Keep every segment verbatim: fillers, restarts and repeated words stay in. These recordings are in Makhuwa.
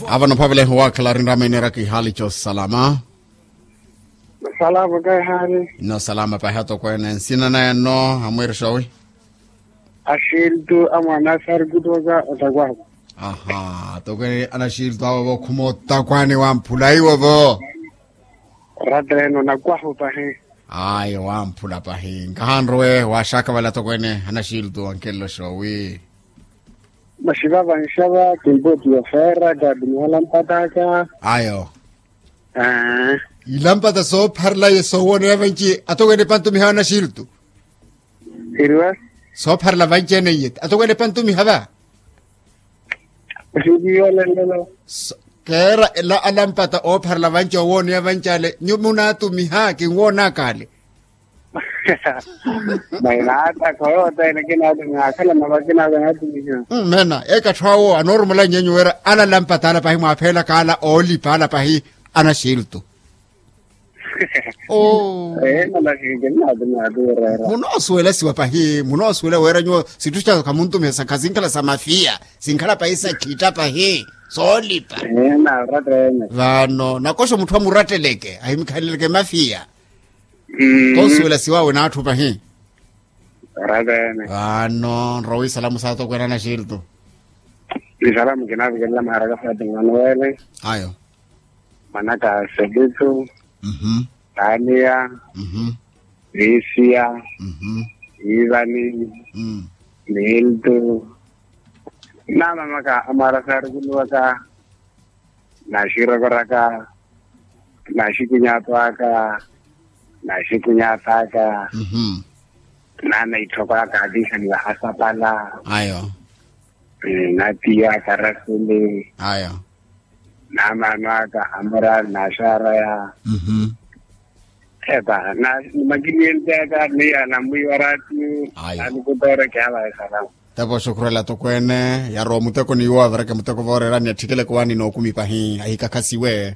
Ava nophaveleho wakhala arinrama ineeraka ihali cosalama. Salama kaihani. Ino salama pahi atokweene nsina naye nno amweerexa owi? Axiltu amwaana asari kutooka otakwaha. Aha atokweene anaxiltu awo vo khuma otakwaani wamphula iwo vo. Oratta ene onakwaha opahi. Ayo wamphula pahi nkahanrowe waxaaka vale atokweene anaxiltu ankelelo xoowi? Maxivava nxava kimpooti yofeera kaatimiha lampataka. Ayo. Ilampata soopharelaye soowooneya vanci atokweene epantumiha anaxiltu. Iriwa. Soopharela vanci ene iyeti atokweene epantumiha va. Oxinkiyoolelelo. Keera ela alampata oopharela vanci owooneya vanci ale nyuwo munaatumiha kinwoonaka ale. Mainaata khoyoota ene kinaatumiha akhala nava kinaata naatumiha. Mena ekattho awo anoorumula nyeenyu wira ala alampata ala pahi mwaapheelaka ala oolipa ala pahi anaxiltu. Oo. Munosuwela siwa pahi munosuwela wira nyuwo sitthu xa khamuntumiha khazinkhala sa mafiya sinkhala pahi sa khitta pahi soolipa. Vano nakoxa mutthu amuratteleke ahimikhaleleke mafiya. Tosuwela siwawe n'atthu pahi. Vano nrowe isalamu sa atokweene anaxiltu. Isalamu kinaavikerela maharaka fati manuwele. Ayo. Mwanaka sebitu. Tania. Lisia. Ivani. Miltu. Namamaka amwara saarikuluwaka naxirokoraka naxikunyaatwaka naxikunyaataka. Nana itthoko aka atiixaniwa asapala. Ayo. Natiya karasele. Ayo. Namaano aka amora naxaraya. Epa na nimakiliyenteyaka niya namwiiwa ratio. Ayo. Nanikutoorekeya vahe salama. Tepa oxukhurela atokweene yarowa muteko ni iwo avereke muteko vooreerani atthikele kowaani nookumi pahi ahikakhasiwe.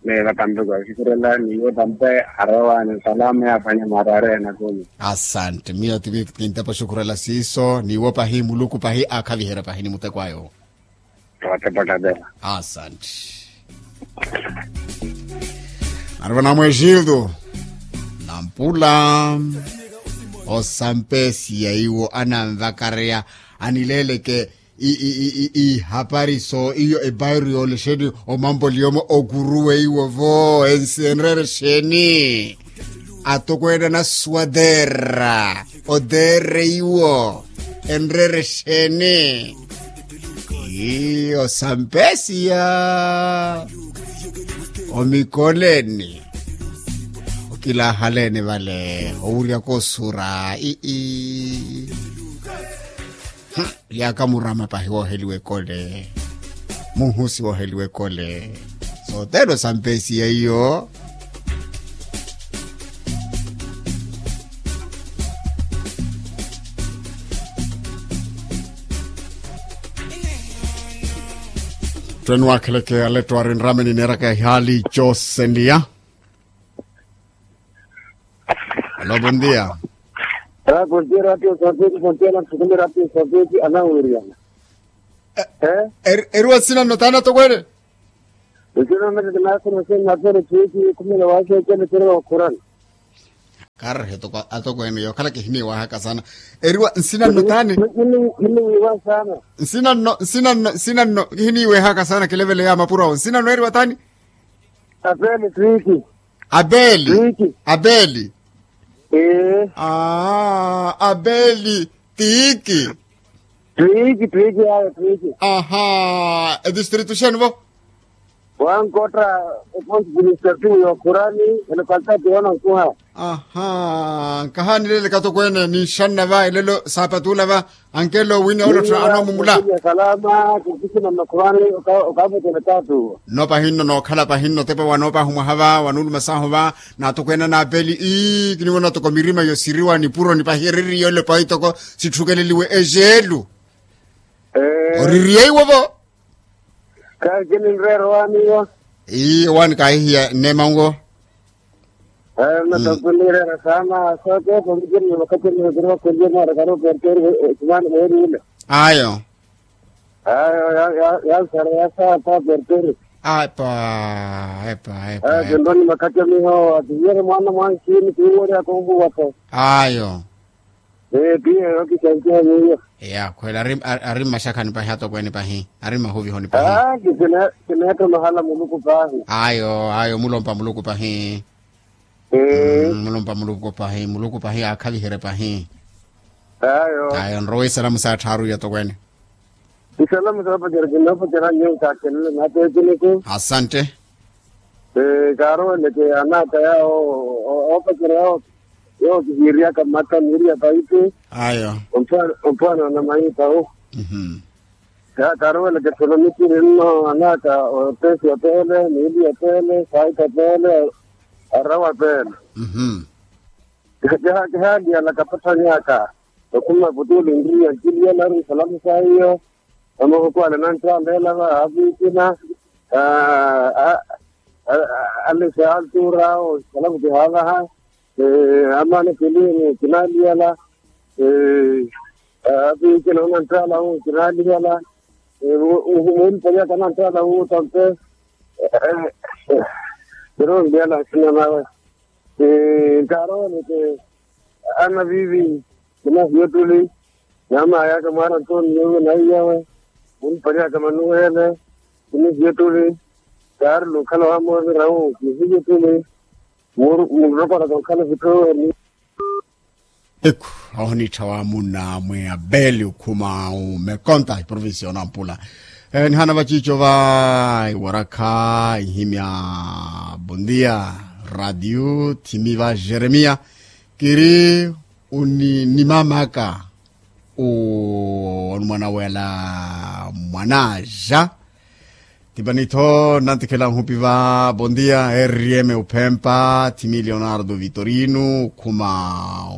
Meera tampeko axikhurela ni iwo tampe arowaani salama yaaphwanya mwaari areena kumi. Asante miyo ti miyo kintepa oxukhurela siiso ni iwo pahi muluku pahi aakhaviherya pahi ni muteko ayo. Asante. Arivona mwexilu nampula osampesiya iwo ananvakareya anileeleke ihapari so iyo ebairo yoolexeni omampoliyomo okuruwe iwo vo enreerexeni. Atokweene anasuwa oteera oteere iwo enreerexeni. Iyo sampesiya omikoleni okilahaleeni vale owuryaka osura ii. Lyaaka murama pahi wooheliwa ekole muhusi wooheliwa ekole. Sothene osampesiya iyo. Tweni wakhelekeya letto arinrameni neeraka ihaali jose niya. Alo bondia. Bondia ratio soveti bondia na sukumi ratio soveti anawiriana. Eriwa nsina nno taani atokweene? Nsina nno tete naasina sina nafere titi kumela waseekele tere wakhurana. Karrehe atokweene yookhala kihiniiwahaka saana. Eriwa nsina nno taani? Hiniwiiwa saana. Nsina nno nsina nno nsina nno kihiniiwehaka saana kilevele ya mapuro awo nsina nno eriwa taani? Apele titi. Abeli. Abeli. Abeli tiiki. Tiiki tiiki ayo tiiki. Aha edistritu xeni vo? Wankotta. Ekonsi administrativu yokhurani. Elokaltati yoona nkuha. Aha nkahanileleka tokweene ninxanna va elelo saapatula va. Ankeelo wini olotha anoomumula. Salama kinkisina mmakhurani. Okaavotela taatu. Nno pahinno nookhala pahinno tepa wanoopaha omwaha va wanuuluma sahu va. Naatokweena naapeli ii kiniwona toko mirima yosiriwa nipuro ni pahiririyo lepo aitoko. Sitthukeleliwe exeelu. Oririye iwo vo. Kaakini nreero waani iwo. Ii owaani kaahihiya nneema nwo. Ayo. Ayo, yansara yasaata perteri. Epa, epa, epa. Kentoni makatamiho atiyere mwana mwankhini kiwori akonkuwata. Ayo. Piye yokisankiha miyo. Eya khwela ari mmaxakhani pahi atokweene pahi, ari mmahuvihoni pahi. Kineetta mahala muluku pahi. Ayo ayo mulompa muluku pahi. Mulompa muluku pahi muluku pahi aakhaviherye pahi. Ayo nrowe isalamu saattharu iyo atokweene. Isalamu soopacerya kinoopacerya nyuwo kaakhelele naateekiniku. Asante. Kaaroweleke anaaka yaawo oopacerya yaawo kihiiryaka mmata niiriya paipi. Ayo. Omphwaana na mahipa wu. Kaaroweleke tthuna mitiri nno anaaka oteesi oteele niiliya oteele saahita oteele arawa peele. Kihaaliyala kapatthani aka. Okhuma putuuli nriya nkiliyela ari nsalamu saiyo. Amahuku ale nanttaleela va avikina. Alisa altura awo nsalamu kihaavaha. Amaana kiliini kinaaliyala. Avikina nanttala wu kinaaliyala. Muulipanyaka nanttala wu tampe. Kiro nliyala nsina nawe. Ntarooneke ana viivi. Kinahiyo tuli. Namayaka mwaara ntooni yoowe naiyawe. Munipaliyaka manuwele. Kinihiyo tuli. Kaari lunkhala wamoovira wu kihiyo tuli. Munrokoraka onkhala vithoweni. Eku. Ahonittha wa munna mwe abeli okhuma umekonta iprovincia onampula. Nihana vaciico va iwarakha ihimya. Bondia radio thimi va jeremia. Kiri uni ni mamaka. Onimwana wela mwanaja. Tipani-tho nnantikhela nhupi va bondia rm uphempa thimi leonardo vitorino khuma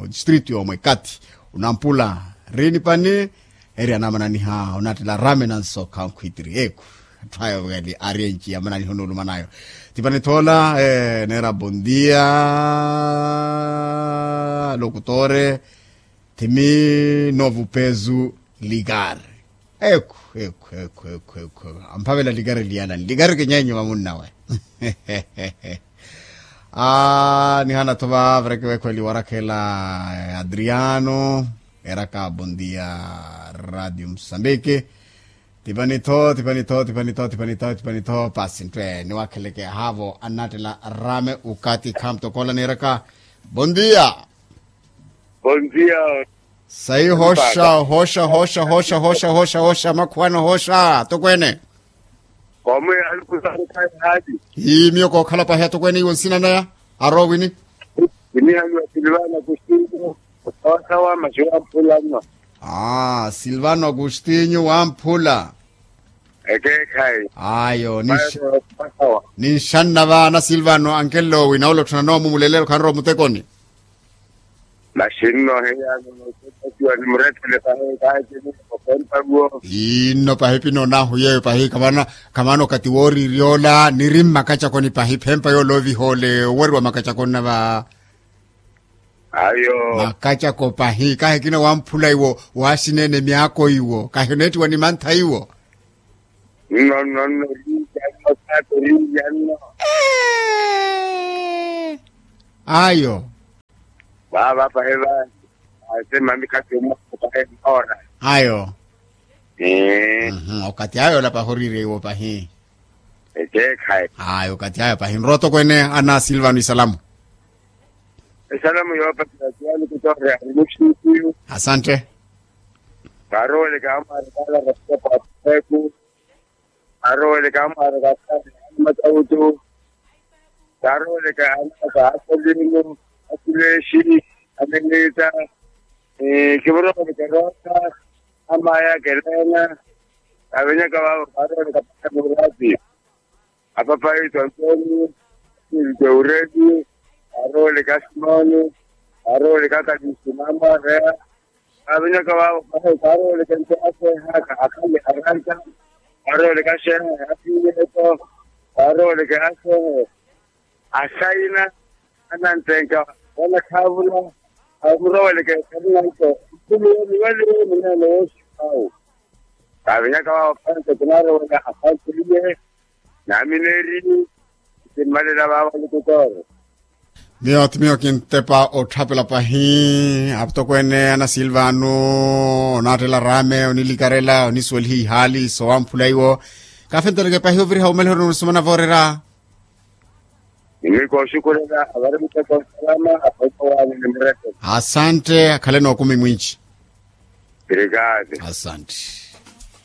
distrito yomwe kathi. Onampula ri nipani. Eri anamananiha onattela rame nanso khankhwitiri eku. Atthu ayo veli ari enci yamananiha onulumanayo. Tipani-tho ola neera bondia. Lokutore. Thimi novo pezu. Likari. Eku eku eku eku eku. Amphavela likari liyalani likari kinyenyu vamunnawe. Nihana-tho vaverekiwe ekhweli warakhela. Adriano. Eraka bondia. Radio musambiki. Tipani-tho tipani-tho tipani-tho tipani-tho tipani-tho pasi nttwe niwakhelekeya haavo annattela. Rame ukati khamutokoola niiraka. Bondia. Bondia. Sayi hoxa hoxa hoxa hoxa hoxa hoxa hoxa makhuwano hoxa atokweene. Koomwe alukusankhayi haati. Ii miyo kookhala pahi atokweene iwo nsina naya. Arowini. Kinihamiwa silvano agostinho. Osawasawa maxi wamphula nno. Aa silvano agostinho wamphula. Ekeekhayi. Ayo. Ninxanna vaana silvano ankenloowi nawula otthuna noomu mulelelo khanrowa mutekoni. Maxi nno heyano nookotasiwa nimurettele pahi kaakini okhempa wo. Ii nno pahi pinoonaahu yeeyo pahi khamana. Khamana okathi wooriiry'ola niri mmakacakoni pahi phempa yoola oviha ole oweriwa makacakoni na va. Ayo. Makacako pahi kahi ekina wamphula iwo. Waasineene myaako iwo kahi oneettiwa ni mantha iwo. Nno nno nno riiya nno kaako riiya nno. Ayo. Vaava pahi va. Ase mami kathi omwaha pahi mmoora. Ayo. Okathi ayo ola pahi oriirya iwo pahi. Ekeekhayi. Ayo okathi ayo pahi nrowa otokweene ana silvano isalamu. Esalamu yoopatela tiwani kutoorya ari muxintiyu. Asante. Kaarooleke amwaari kaala rafika paathupeku. Kaarooleke amwaari kaala matawutu. Kaarooleke anaaka asolino. Asulexi. Amenita. Kimurooleke roota. Amaya kelena. Kaavenyaka vaavo kaarooleke apata murati. Apapayi tontonio. Asilite ureti. Kaarooleke asimoni. Kaarooleke akalisi namwareya. Kaavenyaka vaavo kaarooleke nto asehe aka akhale aranta. Kaarooleke asehe afiyeto. Kaarooleke asehe asaina. Anantenka wala khaavula. Amuroweleke kharinanto. Mukulu woomi waliwo muneene woosi awo. Kaavinyaka vaavo panto kinaarowela apanto iye. Naamineeri. Simmalela vaavo alukutoro. Miyo ti miyo kintepa otthapela pahi. Aptokweene anasilvano, onaattela raame onilikarela onisuweliha ihaali sowamphula iwo. Kaafenteleke pahi oviriha omaliho nusumana voorera. Nimikooxukulela avari muteko salama. Apoipo waani nimirete. Asante akhale nookumi mwinci. Pirikati. Asante.